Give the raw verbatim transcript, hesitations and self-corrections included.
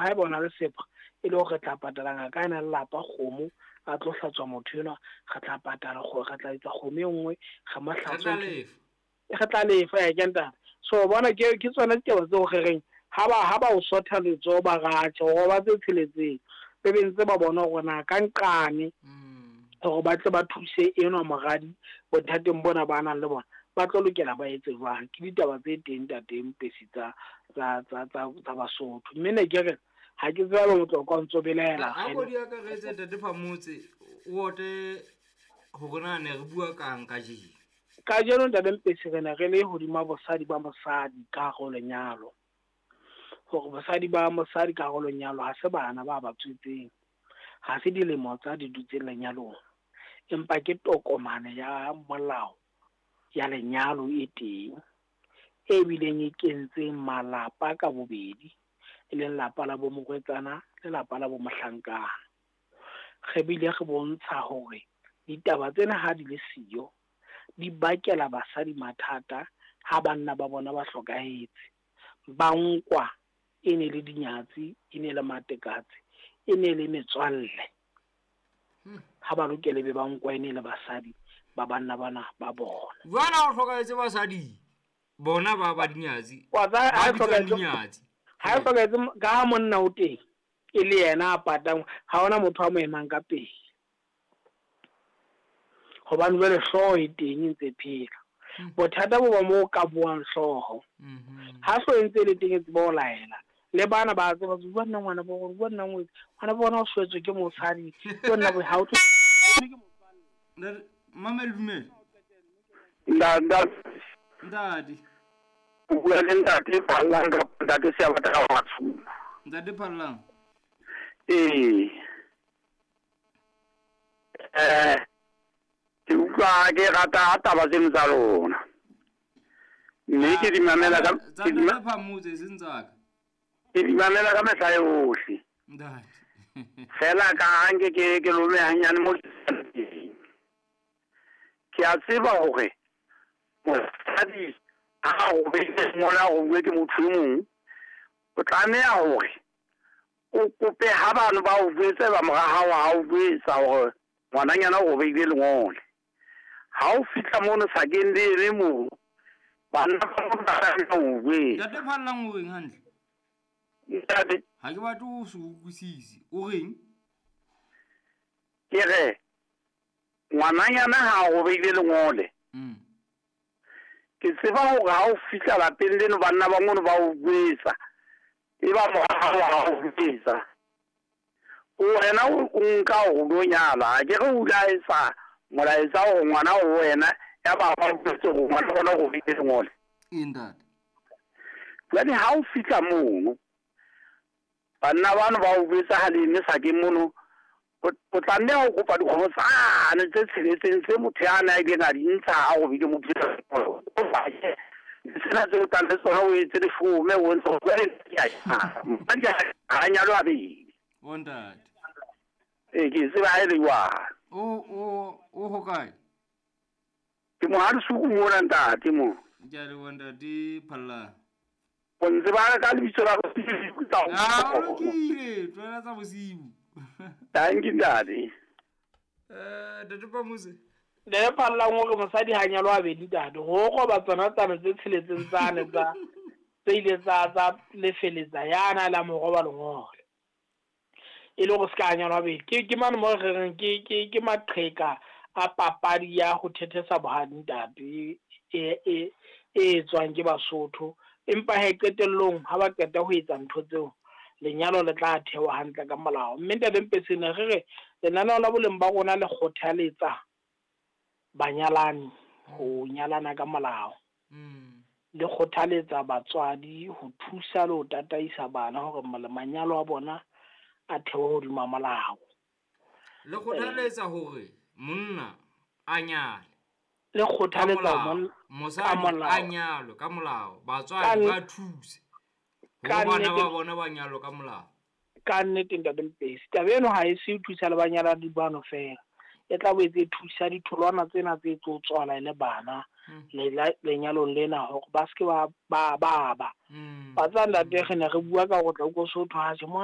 haeba o na le sepha e le hore re tla patala ngaka e na le lelapa kgomo a tlo hlatswa motho enwa, re tla patala kgo re tla etsa kgomo e nngwe re mo Re tla hlatswe lefa. Re tla lefa ya ke ntate. So bona ke ke tsona ditaba tseo re reng ha ba ha ba o sotha letsoho ba ratjhe hore ba tse tsheletseng be be ntse ba bona hore na ka nqane hore ba tle ba thuse enwa moradi bothateng bona ba nang le bona ba tlo lokela ba etse jwang. Ke ditaba tse teng ntate Mpesi tsa tsa tsa tsa tsa Basotho. Mme ne ke re ha ke tsebe Motlokwa o ntso belaela A ko di akaretse ntate Phamotse o ote hore na ne re bua kang kajeno. Kajeno ntate Mpesi re ne re le hodima bosadi ba mosadi ka hare ho lenyalo. Hore bosadi ba mosadi ka hare ho lenyalo ha se bana ba ba tswetseng, ha se dilemo tsa di dutseng lenyalong, empa ke tokomane ya molao ya lenyalo e teng e bileng e kentseng malapa ka bobedi, e leng lapa la bo morwetsana le lapa la bo mohlankana. Re bile re bontsha hore ditaba tsena ha di le siyo di bakela basadi mathata ha banna ba bona ba hlokahetse. Ba nkwa e ne le dinyatsi, e ne le matekatse, e ne le metswalle. Ha ba lokele be ba nkwa e ne le basadi ba banna bana ba bona. Jwale ha o hlokahetse basadi bona ba ba dinyatsi. Wa tsaya Ba ha e bitswang hlokahetse dinyatsi. ha e hlokahetse ka ha monna o teng e le yena a patang, ha hona motho a mo emang ka pele. Hobane jwale hlooho e teng e ntse phela. Bothata bo ba moo ka buang hlooho. Ha hlooho e ntse e le teng e tseba ho laela. Le bana ba tseba bua nna ngwana bo rona, bua nna ngwetsi. Ngwana bo bona o shwetswe ke mosadi. Ke nna bo ha o tlo Ntate Mamela dumela. Ntate Ntate. O bua le ntate Phallang kapa ntate Seabata ka Matshuma. Ntate Phallang. Ee. Eh ke utlwa ke rata taba tseno tsa lona. Mme ke di mamela ka Tsa ke di ma- ntate Phamotse e seng tsa ka. ke di mamela ka mehla yohle. Ntate. Fela ka ha nke ke ke lome hanyane mo ke Ke a tseba hore mosadi ha a robetse mola a robuwe ke motho e mong, o tlameha hore o kope ha bano ba o jwetse ba mora hao ha o jwetsa hore ngwananyana o robehile lengole. Ha o fihla mono sakeng le eme moo, banna ba mono ba tlameha ho o jwetsa. Ntate Phallang o reng hantle? Ntate. Ha ke batle ho se utlwisise. O reng? Ke re ngwananyana ha a robehile lengole. Mm. Ke tseba hore ha o fihla lapeng leno banna ba mono ba o jwetsa. E ba mora hao ha o jwetsa. Wena o nka hore o lo nyala, ha ke re o ile a etsa molaetsa hore ngwana o wena ya ba ba o jwetse hore ngwana ona o robehile lengole. Ee, ntate. Jwale ha o fihla mono, banna bano ba o jwetsa ha le eme sakeng mono, o, o tlameha ho kopa dikgomo tsane tse tsheletseng tse motho ya na ileng a di ntsha ha a robile motho eo. O batle sena tseo o tlang le tsona o etse leshome, o ntse o jwale ke a nyala. Mosadi ha a nyalwe habedi. O ntate. Ee, ke tseba ha e le jwalo. O, o, o hokae? Ke Mohalesuku mona ntate mo. Ke a leboha ntate Phallang. O ntseba ka lebitso la Ah, o lokile, tlohela tsa bosiu. Thank you ntate. Eh, ntate Phamotse. Ntate Phallang o re mosadi ha nyalwa habedi ntate, ho roba tsona tsane tse tsheletseng tsane tsa tse ile tsa tsa lefeletsa yana la mo roba lengole. E le hore se ka nyalwa habedi. Ke ke mane mo re reng ke ke ke maqheka a papadi ya ho thethesa bohadi ntate e e e etswang ke Basotho. Empa he qetellong ha ba qeta ho etsa ntho tseo, lenyalo le tla thewa hantle ka molao. Mme ntate Mpesi ne re re lenaneo la boleng ba rona le kgothaletsa banyalani ho nyalana ka molao. Le kgothaletsa batswadi ho thusa le ho tataisa bana hore manyalo a bona a thewe hodima molao. Le kgothaletsa hore monna a nyale. Le kgothaletsa Ka molao. monna Mosadi ka molao. a nyalwe ka molao. Batswadi Ka ba thuse hore ka bana nnete ba bona ba nyalwe ka molao. Ka nnete ntate Mpesi, taba eno ha e se e thusa le banyalani bano fela. E tla boetse e thusa ditholwana tsena tse tlo tswala e le bana lela-, lenyalong lena hore ba se ke ba, ba, ba ba. Mm. Ba tswa ntate re ne re bua ka hore tla utlwa Sotho ha tjhe, mona